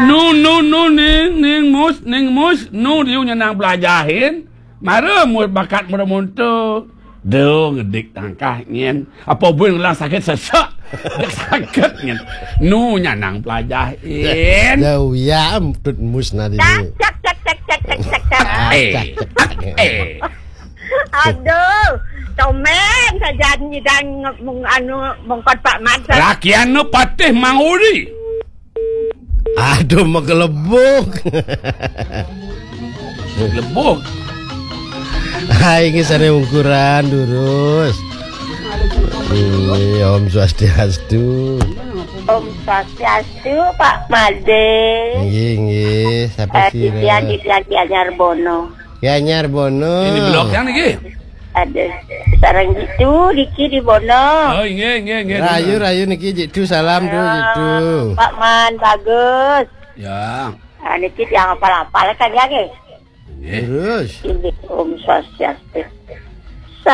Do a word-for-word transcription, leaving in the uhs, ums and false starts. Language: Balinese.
Nu, nu, nu, ning, ning mus, ning mus, nu diu nyenang pelajahin. Mara mus bakat mara monto. Do ngedik tangkah nyen. Apa buin ngelang sakit sesek. Dek sakit nyen. Nu nyenang pelajahin. Dah uya em tut mus nadi. Cak, cak, cak, cak, cak, cak, cak, cak. Eh. Cak, cak, cak. Eh. Aduh, tomen saja nyidang mung anu mungkot Pak Mat. Rakian nu patih manguri. Aduh, magelebuk. Lebuk. Hai, ini sana ukuran durus. Ini Om Swastiastu. Om Swastiastu, Pak Made. Nggih, nggih. Siapa Eh, sih? Titian, Titian, Titian Nyarbono. Ya, Nyarbono. Ini blok yang niki. Ada sarang gitu, Diki di Bono. Oh, nggih, nggih, nggih. Rayu, rayu niki jitu salam tu jitu. Pak Man, bagus. Ya. Ah, niki yang apal-apal kan ya, nggih? Nggih. Terus. Ini Om Swastiastu.